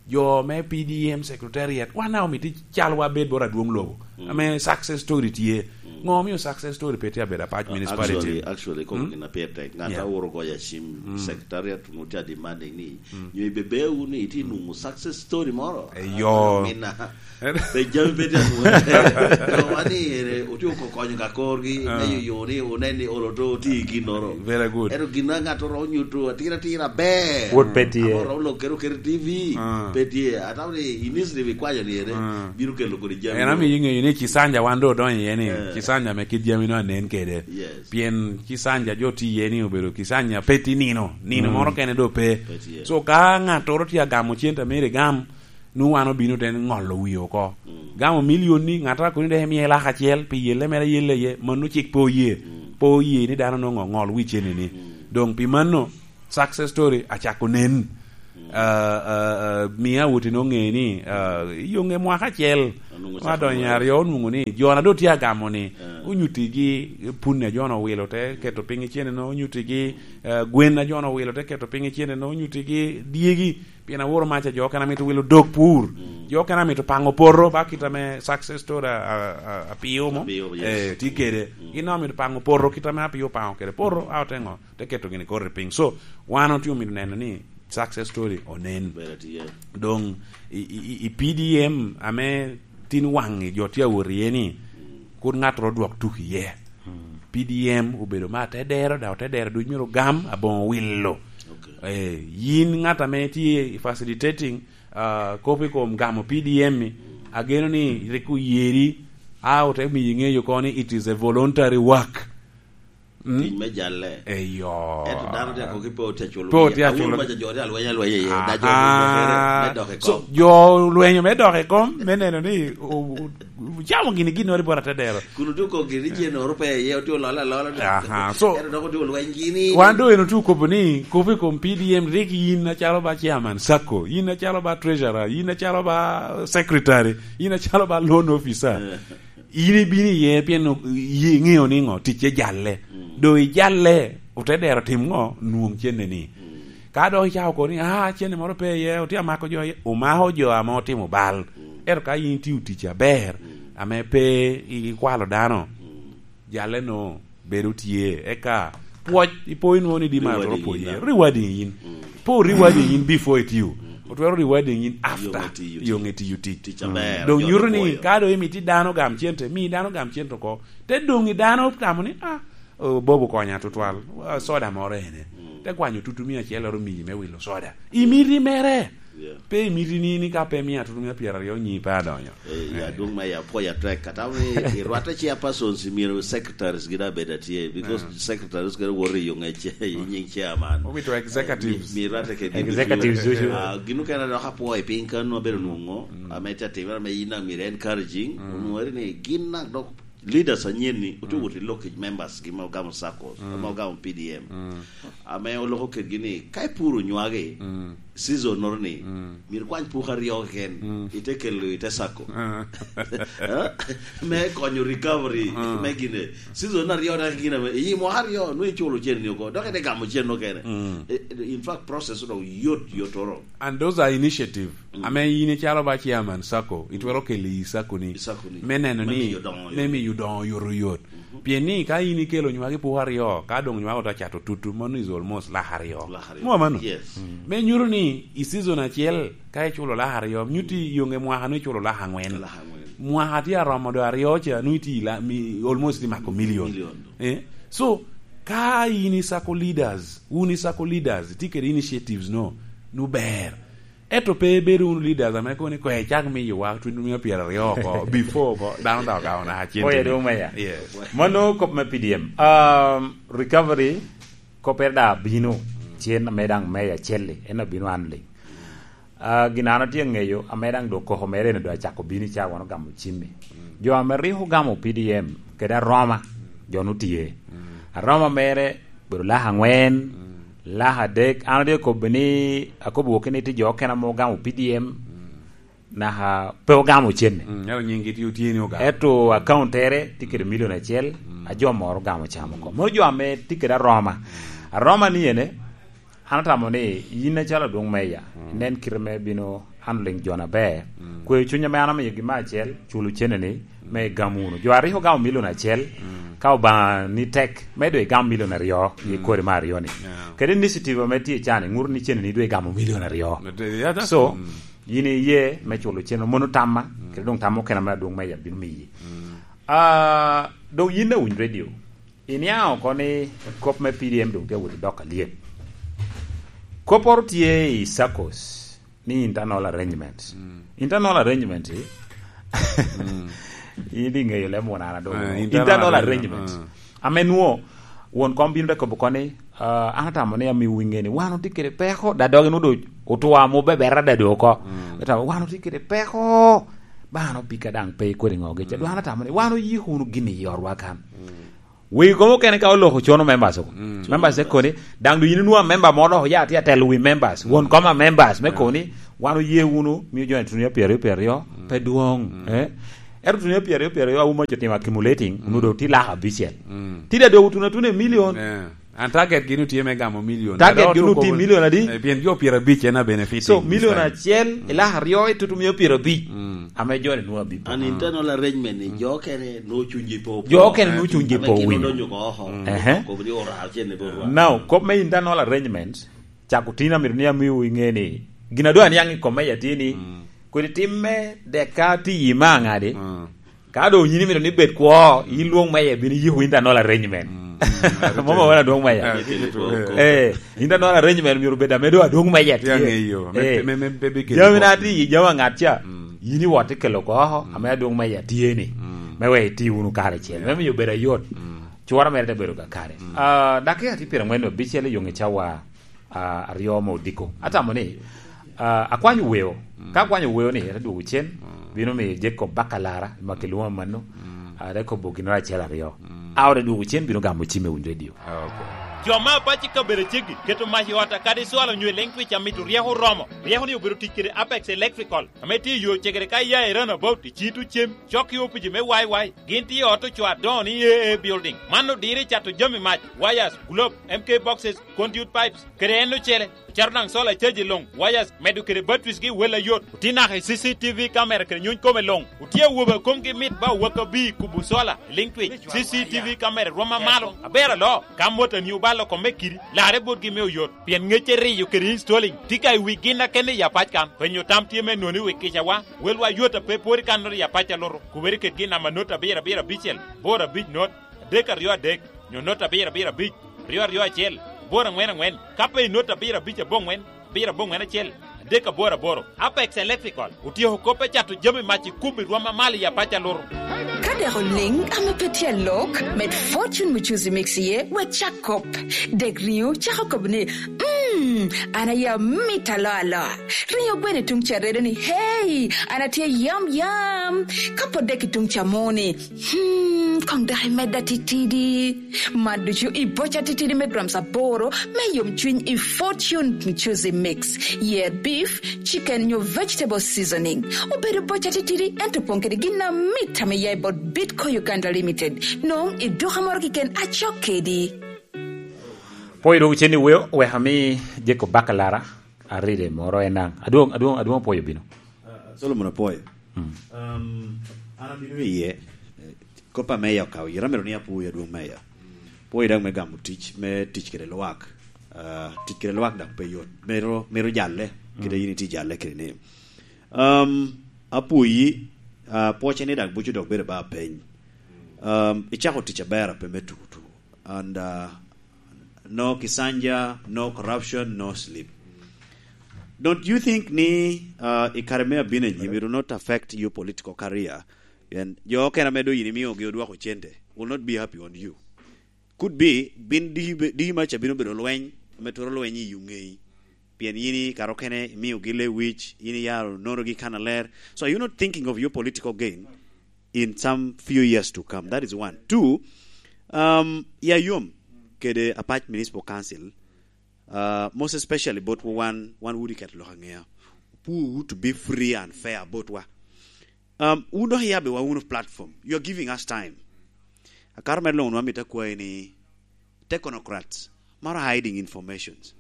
jo me P D M secretariat, wan daŋ omito calwa bed bot adwoŋ lobo, ame success story tye. Ŋo omio success story pe tye abedo apac municipality? Actually, actually, koko gin a pire tek. Ŋat a oro goyo acim, secretariat onwoŋo tye a demanding ni, nyo ibebe wunu ni itye nwoŋo success story moro? Eyo. Mina. Pe jami pe tye atwone. Doŋ wan ni ere otye oko konyo ka korgi, me yoyo ni onen ni olo to oti i ginnoro. Very good. Ento gin a ŋat oro onyuto atira atira ber. Pwod pe tye. Ame oro lok kede oketo i T V, pe tye. Atamo ni initiative ikwanyo ni ere, bino kelo kodi jami. En amiyo iŋeyo ni Cisanja wan doŋ odonyo iye ni, Cisanja ame kit jami no anen kede. Yes. Pien Cisanja jo tye iye ni obedo Cisanja pe tye nino. Nino moro kene doŋ pe. Pe tye. So ka ŋattoro tye agamo cente a myero igam, nwoŋo wan obino te ŋolo wie oko. Gamo milion ni, ŋattoro a kono ni dok imiye lak acel pi yelle mere ayella iye, mano cik pe oye. Pe oye ni dano nwoŋo ŋol wi cene-ni. Doŋ pi mano, success story acako nen. Ah, ah, ah, mia awoti nwoŋo ŋe ni, ah, i yoŋe mwaka acel, ma donyo i aryo onwoŋo ni, jo na doŋ tye agamo ni, onyuttigi punni a jo-nu owilo te keto piny i cene-nu, onyuttigi, eh, gwen a jo-nu owilo te keto piny i cene-nu, onyuttigi dyegi, pien aworo mac a jo okene amito wilo dog pur. Jo okene amito paŋo poto, ba kit ame success story a, a, a, Apio mo. Apio, yes. Eh, tye kede. Gin daŋ amito paŋo poto, kit ame Apio opaŋo kede poto, a ote ŋo? Te keto gini koti piny. So, wan otye omito neno ni success story onen. Bedo tye. Doŋ, i, i, i, i P D M ame tin waŋ i jo tye awot iye ni, kur ŋattoro dwok tuk iye. P D M obedo me atedero, dok otedero duc myero ogam aboŋo wilo. Okay. Eh, yin ŋat ame tye i facilitating, ah, kop i kom gamo P D M-mi, ageno ni rik oyeri, a ote miyi ŋeyo kono ni it is a voluntary work. Mm. Tic me jalle. Eyo. Ento dano tye akoki pe otye aculo. Pe otye aculo. Awuro maca jo tye alweny alweny iye. Aha. Da jo me dok i kom. So, jo olwenyo me dok i kom, me neno ni o-, o-, ocamo gini ginnoro i bot atedero. Kun otye okobo gini ni cen oro pe iye, otye ololo alola. Aha. So, ento dok otye olweny gini. Wan doŋ en otye okobo ni, kop i kom P D M, rik yin acalo ba chairman sacco, yin acalo ba treasurer, yin acalo ba secretary, yin acalo ba loan officer. Eh. In ibino iye pien o-, iye iŋeo ni ŋo? Ticce jalle. Mm. Doŋ ijalle, otedero tim ŋo? Nwoŋ cenne-ni. Mm. Ka dok icako kobo ni, "Ah, cenne moro pe iye, otye amako jo iye," omako jo ame otimo bal. Mm. Ento ka in itio tic aber, mm, ame pe i-, ikwalo dano, mm, jalle-nu bedo tye. Eka pwoc, ipo inwoŋo ni di ma otwero pwoc iye. Rewarding yin. Mm. Pe orewarding yin before itio. Mm. Otwero rewarding yin after. Yo me tiyo tic. Yo me tiyo tic. Tic aber. Doŋ nyuto ni ka doŋ imito dano gam cente, mi dano gam cente oko. Te doŋ i dano tamo ni, "Ah, oh, Bob okonya tutwal. Ah, soda moro ene." Mm. Te kwanyo tutu mia acel ero miyi me wilo soda. Imiti mere. Yeah. Pe imiti ni, ni ka pe mia tutu mia pyeraryo nyi pe adonyo. Eh, ya, adwoŋ me ya, apwoyo atek. Atamo ni irwatte chairpersons, myero secretaries gin abed atye, because, yeah, secretaries kede woto i yo ŋec, i nyiŋ chairman. Omito executives. Eh, mi, mi irwatte kede executives ducu. Ah, gin okene dok apwoyo piny kan abedo nwoŋo, mm, ame te atimere ame in daŋ myero encouraging, mm, onwoŋo ni gin daŋ dok leaders anyen-ni otye, mm, wot i lok i members gi ma ogamo circles, mm, ma ogamo P D M. Mm. Ame oloko kedgi ni, ka ipuro nywagi, mm, season-noro ni, mm, myero ikwany puku aryo keken, mm, ite kelo ite sacco. Ah. Eh? Me konyo recovery, mm, me gine. Season aryo dok gine me, i mwaka aryo, nwe iculo cen-ni oko, dok ite gamo cen okene. Mm. Eh, in fact, process dok yot, yotoro. And those are initiative. Mm. Ame in icalo ba chairman sacco, itwero kelo i sacco-ni. I sacco-ni. Me neno ni, me miyo doŋo yot. Me miyo doŋo yot oyot. Mhm. Pien ni ka in ikelo nywagi puku aryo, ka doŋ nywagi ote cato tutu, mano is almost lak aryo. Lak aryo. Mo mano? Yes. Mm. Me nyuto ni i season acel, ka iculo lak aryo, nyuti, mm, yonge mwaka-nu iculo lak angwen. Lak angwen. Mwaka tye aromo do aryo ca, nwoŋo itye ila-, mi-, almost imako million. Million. Eh? So, ka in isako leaders, wun isako leaders, itye kede initiatives no, nu ber. Ento pe ibedo wunu leaders ame kono ni, "Kwe, icak miyowa twenty mia pyeraryo oko, before oko, dano dok ogamo naka cente." Oye, dong meya. Yes. Mano kop me P D M. Um, recovery, koppere da abino, cen ame daŋ meya acel-li, en abino handling. Ah, gin an atye aŋeyo, ame daŋ dok koko mere ni dok acako bino i cawa wano gamo cimmi. Jo ame rik ogamo P D M kede Aroma, jo nu tye. Aroma mere bedo laka angwen, laka adek. An atye akobo ni, akobo wokki ni tye jo okene ame ogamo P D M, naka pe ogamo cene. Mm, ento nyinggi tye, tye ni ogamo. Ento akauntere tye kede milion acel, a jo moro ogamo camo oko. Mano jo ame tye kede Aroma. Aroma ni ene, an atamo ni yin acalo adwoŋ meya, inen kite me bino handling jo na ber. Kweyo cuny ame an amiyogi me acel, culo cene ni, me igam wunu. Jo a rik ogamo milion acel, ka Obaŋa ni tek, me doŋ igam milion aryo i kodi me aryo ni. Yeah. Kede initiative ame tye i can-ni, ŋuto ni cene ni doŋ igamo milion aryo. But, uh, yeah, that's, so, mm, yin iye me culo cene, mono tamma, kede doŋ tamma okene ame adwoŋ meya bino miyi. Ah, doŋ yin awiny radio. Iniaŋ oko ni kop me P D M doŋ tye awot i dok alyet. Kopporo tye i saccos ni internal arrangement. Mm. Internal arrangement, eh? Mm. In iŋeyo leb wun an adoŋo. Eh, internal internal arrangement. Arrangement. Mm. Ame nwo, won kom bino te kobo koni, ah, an atamo ni amiwu iŋe ni wan otye kede peko, da dogi nwo do otwa mo bebera da do oko. Mm. Atamo, wan otye kede peko, ba an opika daŋ pe ikodi ŋo gica. Mm. Dwan atamo ni wan oyiko wunu gin i yorwa kan. Mm. Wegi komo okene ka oloko cono members oko. Mm. Members te koni, daŋ doŋ yin inwoŋo amemba mo dok oya tye atelo wi members. Mm. Won kom a members me koni, wan oye wunu, mio jo ni tunia pyeraryo, pyeraryo, pe dwoŋ, eh? Ento tunia pyeraryo, pyeraryo, auma co timo accumulating, mm, onwoŋo doŋ tye lak abicel. Mm. Tye da dogo tuno atuna i million. Eh, an target gi nu tye me gamo million. Target gi nu tye million adi? Eh, pien jo pyerabic en a benefit. So, million acel, i lak aryo, itutu mio pyerabic. Mm. Ame jo ni nwoŋo abipo. An internal arrangement ni, jo okene nwoŋo cunygi pe opo. Jo okene nwoŋo cunygi pe owinyo. Ame gin odonyo oko oko. Mm. Ehe. Kobo ni ora cene pe orwa. Now, kop me internal arrangement, cako tin amito ni amiwu iŋe ni, gin adwa niaŋ i kom meya tye ni, mm, kodi timme deka ti yi me aŋadi, mm, ka doŋ yin imito ni bed kwo, yin lwoŋ meya bino yiko internal arrangement. Mm. Mama wan adwoŋ meya. Ah, tye true. Eh, internal arrangement myero bed ame doŋ adwoŋ meya tye. Tye aŋeyo. Me, eh, me, me, me, me, jami na tye i jami aŋat ca, mm, yin iwot ikelo oko oko, mm, ame adwoŋ meya tye ni. Mm. Me wek iti wunu kare acel. Yeah. Me miyo bedo ayot. Mm. Cura mere te bedo kakare. Mm. Ah, dakika tye pyeraŋwen abicel i yoŋ i cawa, ah, aryo me odiko. Atamo ni, ah, akwanyo weo. Mm. Ka akwanyo weo ni, ete dwogo cen, mm, bino miyo Jacob Bakalara, ma kilwongo amanno, mm, ah, te kobo ginoro acel aryo. Mm. A ore dwogo cen bino gamo cim i Winy Radio. Ah, okay. Jo me apac i kabedo aceggi keto mac i ot akadi cwalo nyo i leŋ twic amito ryeko oromo. Ryeko ni obedo tic kede Apex Electrical, ame tye i yo cegere ka iya i Runabout i Cito Cem, cok i opici me Y Y. Gin tye i ot ocoo adoŋo ni A A Building. Man odiro i cato jami mac, wires, globe, M K boxes, conduit pipes, kede en ocele. Ocato daŋ solar charge i luŋ, wires, medo kede batteries gi wel ayot. Otye naka i C C T V camera kede nyuny kome luŋ. Otye awobe a komgi mit ba owak abir kubo solar i liŋ twic. C C T V camera rwom amalo. Aber aloo, ka motani obalo kome kidi, larre botgi me oyot. Pien ŋecce riyo kede installing tye ka i wi gin akene i apac kan. Penyo tam tye me noni wi kicawa. Welwa yot a pe pwod i kannoro i apac a luto. Kubere kedgi i namba not abiro abiro abicel, boro abic not, adek aryo adek, nyo not abiro abiro abic, aryo aryo acel, boro aŋwen aŋwen, ka pe i not abiro abic aboŋwen, abiro aboŋwen acel, adek aboro aboro. Apex Electrical otyeko kop me cato jami mac i kum i rwom amalo i apac a luto. Ka dek oliŋ ame pe tye alok, med Fortune Muchuzi Mix iye, wek cak kop. Dek riŋo cako kobo ni, "Mm, an aye amit alo alo." Riŋo gweno i tuŋ ca redo ni, "Hey, an atye yam yam." Ka pwod dek i tuŋ ca mo ni, "Hmm, koŋ dok imedda titidi." Man ducu i boca titidi me grams aboro me yom cwiny i Fortune Muchuzi Mix. Yer beef, chicken nyo vegetable seasoning. Obedo boca titidi, ento opoŋ kede gin amit ame ya i bot Bitco Uganda Limited. Nwoŋo i duka moro keken acok kedi. Pwoyo dwogo cen i weo, wek ami Jacob Bakalara aride moro en daŋ. Adwoŋ, adwoŋ, adwoŋ apwoyo bino. Ah, Solomon apwoyo. Mm. Um, an abino iye, eh, kop ame ya okawo, yera mero ni apwoyo adwoŋ meya. Pwoyo daŋ me gamo tic, me tic kede lwak. Ah, tic kede lwak daŋ pe yot. Mero, mero jalle, kede, mm, yin iti jalle kede ni. Um, apwoyi, Uh, pwoce ni dak bucu dok bedo ba peny. Um, icako tic aber ape me tuku tuku. And uh, no kisanja, no corruption, no sleep. Don't you think ni uh, i kare me abino anyim, it will not affect your political career? And jo okene ame do yin imiogi odwoko cente will not be happy on you. Could be, bin di, di maca bino bedo lweny, ame twero lweny i ungei. Pien yin i kare okene imiogi lewic, yin iyaro nonogi kan aler. So are you not thinking of your political gain in some few years to come? That is one. Two, um, ya yom kede Apac Municipal Council, uh, most especially bot wan, wan wudi ket lok angea. Puwu to be free and fair bot wa. Um, wun dok iyabbe wa wunu platform. You are giving us time. Akato mere luŋ wamito akwayi ni technocrats maro hiding informations.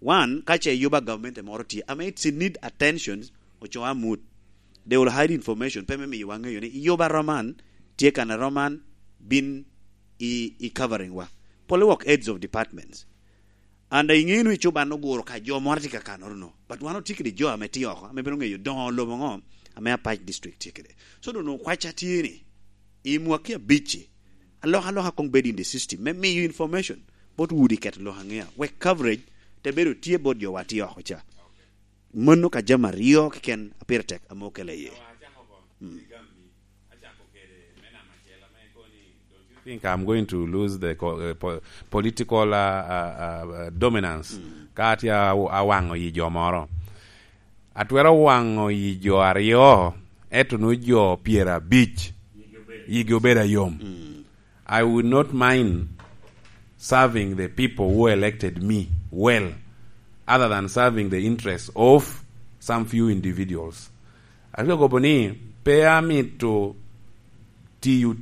One, ka ce yuba government moro tye, I mean, it's in need attention, oco amut. They will hide information, pe me miyo wa ŋeyo ni yuba roman, tye kan roman, bin i, i covering wa. Polle work heads of departments. And iŋeo ni cuban oguro ka jo moro tye ka kanoro no. But wan otye kede jo ame tye oko, ame bino ŋeyo doŋo lobo ŋo ame Apac District tye kede. So doŋ okwaca tye ni, i mwaki abicci, alok aloka koŋ bed in the system, me miyo information bot wudi ket lok aŋea. Wek coverage te bedo tye bot jo wa tye oko ca. Mano ka jami aryo keken a pire tek ame okele iye. Think I'm going to lose the co- uh, po- political uh, uh, uh, dominance. Ka atye aw- awaŋo yi jo moro. Atwero waŋo yi jo aryo, eto no jo pyera abic. Yigi obedo ayom. I would not mind serving the people who elected me well, other than serving the interests of some few individuals. Atye akobo ni pe amito tiyo